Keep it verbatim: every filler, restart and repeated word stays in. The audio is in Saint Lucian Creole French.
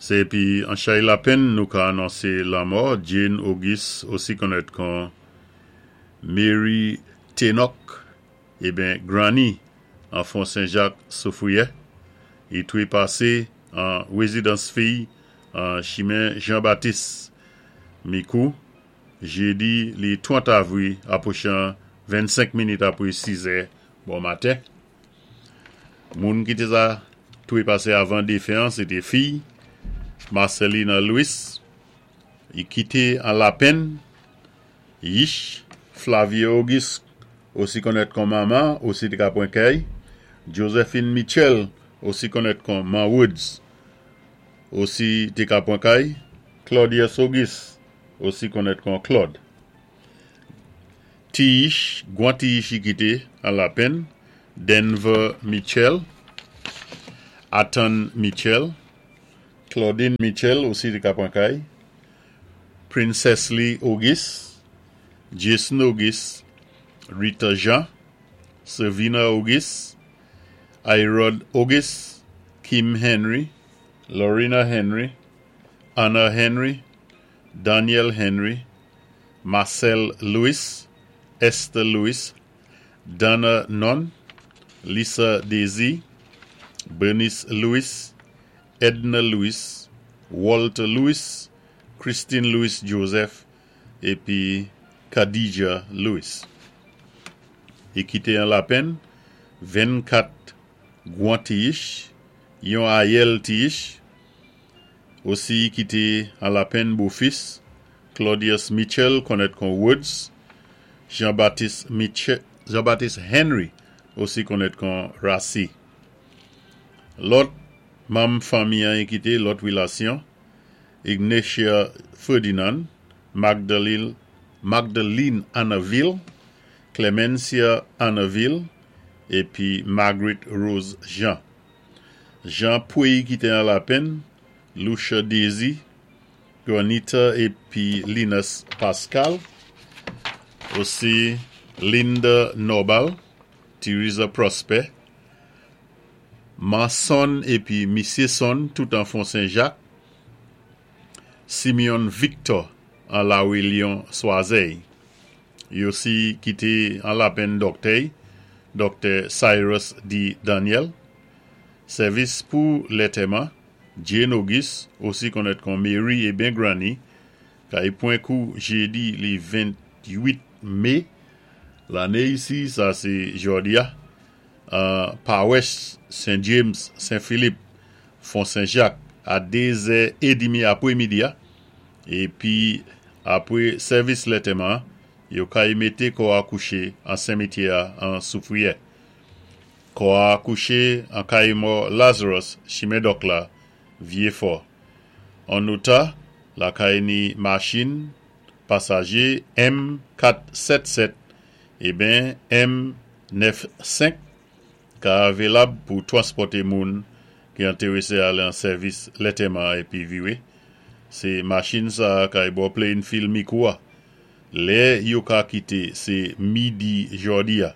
Sé épi an chay lapenn nou ka anonsé lanmò Jane Auguste, osi konnèt kon Mary Tenoch, eben Granny, an Fon Sen-Jak Soufwiyè. I twé pasé an wézidans fiy an chimen Jean-Baptiste Mikou, jédi li trant avwi apwochan vennsenk minit apwé sizè bon maten. Moun ki té sa twé pasé avan défen an, sé té fiy Marcelina Louis, i kité an lapenn Yish Flavia Auguste, osi konnèt kon Mama, osi té ka pwan kay, Josephine Mitchell, osi konnèt kon Ma Woods, osi té ka pwan kay, Claudius Auguste, osi konnèt kon Claude. Ti-Yish, gwan ti-Yish i kité an lapenn, Denver Mitchell, Athan Mitchell, Claudine Mitchell, osi té ka pwan kay, Princess Lee Auguste, Jason Auguste, Rita Jean, Servina Auguste, Irod Auguste, Kim Henry, Lorena Henry, Anna Henry, Daniel Henry, Marcel Louis, Esther Louis, Donna Nunn, Lisa Daisy, Bernice Louis, Edna Louis, Walter Louis, Christine Louis Joseph, épi Khadija Louis. I kité an lapenn, vennkat gwan ti-Yish, yon ayèl ti-Yish, osi i kité an lapenn bofis, Claudius Mitchell, konnèt kon Woods, Jean-Baptiste Mitchell, Jean-Baptiste Henry, osi konnèt kon Rassi. Lòt manm fanmi an i kité, lòt wélasyon, Ignatia Ferdinand, Magdalene, Magdalene Annaville, Clemencia Annaville, épi Margaret Rose Jean. Jean Pouy kité an lapenn, Lucia Daisy, Juanita épi Linus Pascal, osi Linda Nobal, Teresa Prosper, Manson épi Missy Son, tout an Fon Saint-Jacques, Simeon Victor an La Lyon Soiseil. I osi kité an lapenn dòktè, Doktè Cyrus D. Daniel. Sèvis pou lantèman, Jane Auguste, osi konnèt kon Mary eben Granny, kay pwan kou jédi li venn-tuit mé, lanné isi, sa sé jòdi-a, uh, Pawès Saint James, Saint-Philippe, Fon Saint-Jacques, a dé zè édmi apwé midi, épi apwé sèvis lantèman, yo kay mété kò a kouché an simityè an Soufwiyè. Kò a kouché an kay mò Lazarus, chimen Dòk la, Vyé Fò. An nota, lakay ni machin pasajé M kat sèt sèt eben M nèf senk ka avelab pou twanspòté moun ki entéwésé alé an sèvis lantèman épi viwé. Sé machin sa kay bò playing field Mikou a. Lè yo ka kité sé midi jòdi-a.